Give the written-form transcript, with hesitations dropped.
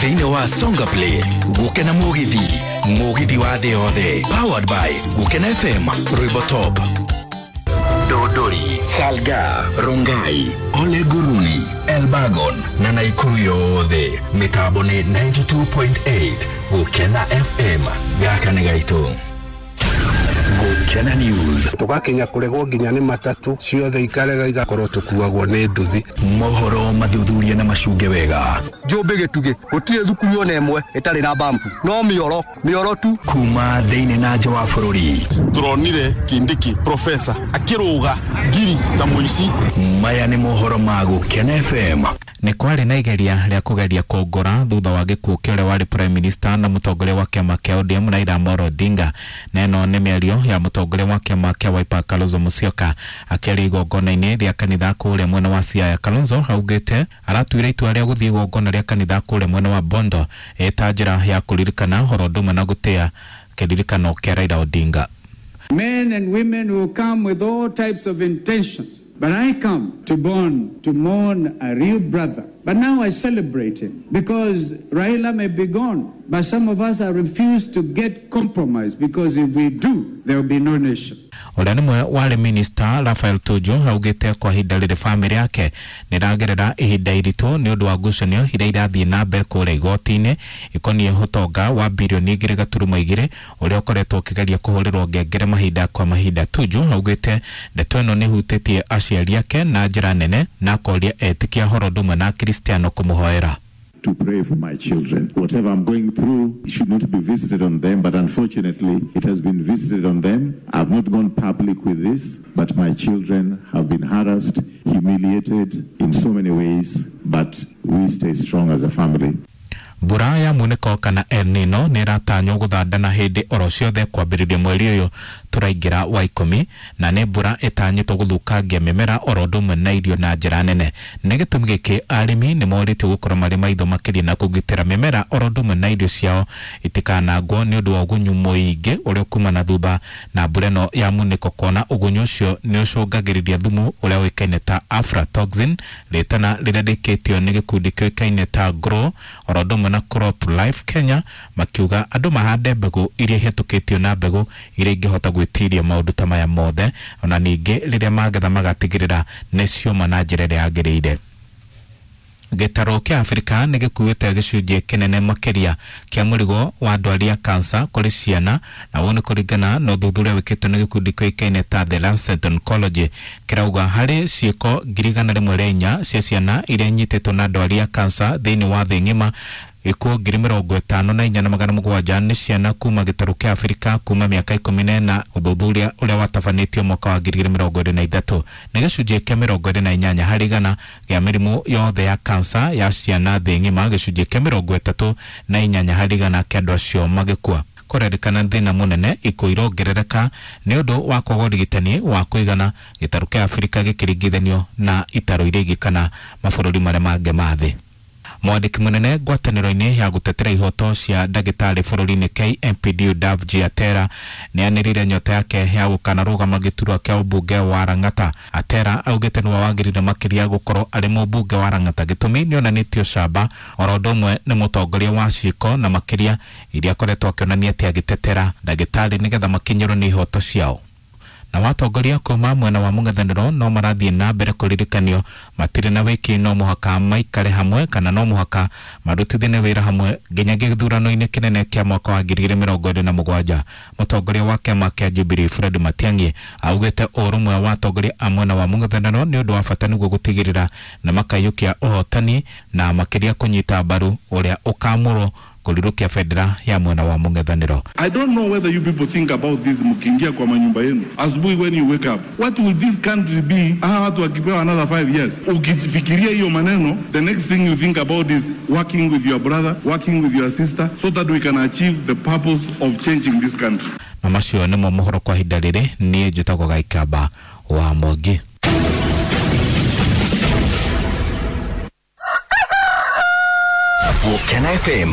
Thĩinĩ wa Songa Play Gũkena Mũgithi, Mũgithi wa thĩ yothe, powered by Gũkena FM, Rwĩmbo Top, Dodori, Salga, Rongai, Ole Guruni, Elbagon na Naikuru yothe. Mĩtambo nĩ 92.8 Gũkena FM. Gaka nĩ gaitũ. Gũkena News. Tugakinya kuregwo nginya nĩ matatu ciothe ikarega igakorwo tukuagwo nĩ nduthi. Mohoro mathuthuria na macunge wega. Njũmbĩ gĩtugĩ gũtirĩ thukuru ona ĩmwe ĩtarĩ na bambu, no mĩoro mĩoro tu. Kuma thĩinĩ na nja wa bũrũri. Turonire Kindiki profesa akĩrũga ngiri ta mũici. Maya nĩ mohoro ma Gũkena FM. Nĩ kwarĩ na igeria rĩa kũgeria kũngora thutha wa gĩkuũ kĩa ũrĩa warĩ prime minister na mũtongoria wa kĩama kĩa ODM Raila Amolo Odinga. Na ĩno nĩ mĩario ya mũtongoria wa kĩama kĩa Wiper Kalonzo Musyoka akĩaria igongona-inĩ rĩa kanitha kũrĩa mwena wa Siaya. Kalonzo augĩte aratuire itua rĩa gũthiĩ igongona rĩa kanitha kũrĩa mwena wa Bondo ĩta njĩra ya kũririkana ũhoro ũndũ ũmwe na gũtĩa kĩririkano kĩa Raila Odinga. Men and women who come with all types of intentions. But I come to mourn, to mourn a real brother. But now I celebrate him because Raila may be gone, but some of us are refused to get compromised because if we do, there will be no nation. Ũrĩa nĩ mwe warĩ minister Raphael Tuju augĩte kwa ihinda rĩrĩ bamĩrĩ yake nĩragerera ihinda iritũ nĩ ũndũ wa ngucanio iria irathiĩ na mbere kũrĩa igoti-inĩ ikoniĩ ũtonga wa birioni 2.2 ũrĩa ũkoretwo ũkĩgeria kũhũrĩrwo ngengere mahinda kwa mahinda. Tuju augĩte ndeto ĩno nĩhutĩtie aciari ake na njĩra nene na akoria etĩkia ũhoro ũndũ ũmwe na Akristiano kũmũhoera. To pray for my children. Whatever I'm going through should not be visited on them, but unfortunately it has been visited on them. I've not gone public with this, but my children have been harassed, humiliated in so many ways, but we stay strong as a family. Mbura ya munĩko kana El Nino nĩ ĩratanywo gũthandana hĩndĩ oro ciothe kwambĩrĩria mweri ũyũ tũraingĩra wa 10 na nĩ mbura ĩtanyĩtwo gũthũkangia mĩmera oro ũndũ ũmwe na irio na njĩra nene. Nĩ gĩtũmi gĩkĩ arĩmi nĩ morĩtio gũkorwo marĩ maitho makĩria na kũgitĩra mĩmera oro ũndũ ũmwe na irio ciao itikanangwo nĩ ũndũ wa ũgunyu mũingĩ ũrĩa ũkumana thutha na mbura ĩno ya munĩko, kuona ũgunyu ũcio nĩ ũcũngagĩrĩria thumu ũrĩa ũĩkaine ta aflatoxin, rĩtana rĩrĩa rĩkĩtio nĩ gĩkundi kĩũĩkaine ta Grow oro ũndũ ũmwe na Crop Life Kenya, makiuga andũ mahande mbegũ iria ihĩtũkĩtio na mbegũ iria ingĩhota gwĩtiria maũndũ ta maya mothe, ona ningĩ rĩrĩa magetha magatigĩrĩra nĩ cioma na njĩra ĩrĩa yagĩrĩire. Gĩtarũ kĩa Afrika nĩ gĩkuĩte gĩcunjĩ kĩnene makĩria kĩa mũrigo wa ndwari ya kansa kũrĩ ciana, na ũũ nĩ kũringana na ũthuthuria wĩkĩtwo nĩ gĩkundi kĩũĩkaine ta The Lancet Oncology kĩrauga harĩ ciĩko 104,000 cia ciana iria inyitĩtwo na ndwari ya kansa thĩinĩ wa thĩ ng'ima, ikuũ 54,700 nĩ ciana kuma gĩtarũ kĩa Afrika kuma mĩaka 14, ũthuthuria ũrĩa watabanĩtio mwaka wa 2023. Nĩ gĩcunjĩ kĩa 28 harĩ igana gĩa mĩrimũ yothe ya kansa ya ciana thĩ ng'ima, gĩcunjĩ kĩa 38 harĩ igana kĩa andũ acio magĩkua. Kũrerĩkana thĩna mũnene ikuũ irongerereka nĩ ũndũ wa kwaga ũrigitani wa kũigana, gĩtarũ kĩa Afrika gĩkĩringithanio na itarũ iria ingĩ kana mabũrũri marĩa mangĩ ma thĩ. Mwandĩki mũnene ngwatanĩro-inĩ ya gũtetera ihoto cia ndagĩtarĩ bũrũri-inĩ KMPDU Davji Atera nĩ anĩrĩire nyota yake ya gũkanarũgama gĩturwa kĩa ũmbunge wa Lang'ata. Atera augĩte nĩwe wagĩrĩire makĩria gũkorwo arĩ mũmbunge wa Lang'ata, gĩtũmi nĩonanĩtio camba oro ũndũ ũmwe nĩ mũtongoria wa ciĩko na makĩria iria akoretwo akĩonania atĩ agĩtetera ndagĩtarĩ nĩgetha makinyĩrwo nĩ ihoto ciao. Na watongoria kuma mwena wa mũng'ethanĩro no marathiĩ na mbere kũririkanio matirĩ na wĩki, no mũhaka maikare hamwe kana no mũhaka marutithanie wĩra hamwe nginya gĩthurano-inĩ kĩnene kĩa mwaka wa 2027. Mũtongoria wa kĩama kĩa Jubilee Fred Matiang'i augĩte ũrũmwe wa atongoria a mwena wa mũng'ethanĩro nĩ ũndũ wa bata nĩguo gũtigĩrĩra na makaiyũkia ũhotani na makĩria kũnyita mbaru ũrĩa ũkamũrwo kũrirũkia bendera ya mwena wa mũng'ethanĩro. I don't know whether you people think about this mkiingia kwa manyumba yenu asubuhi when you wake up. What will this country be? Hawa watu wakipewa another 5 years. Ukifikiria hiyo maneno, the next thing you think about is working with your brother, working with your sister so that we can achieve the purpose of changing this country. Na macio nĩmo mohoro kwa ihinda rĩrĩ. Niĩ njĩtagwo Gaikamba wa Mwangi. Gũkena FM.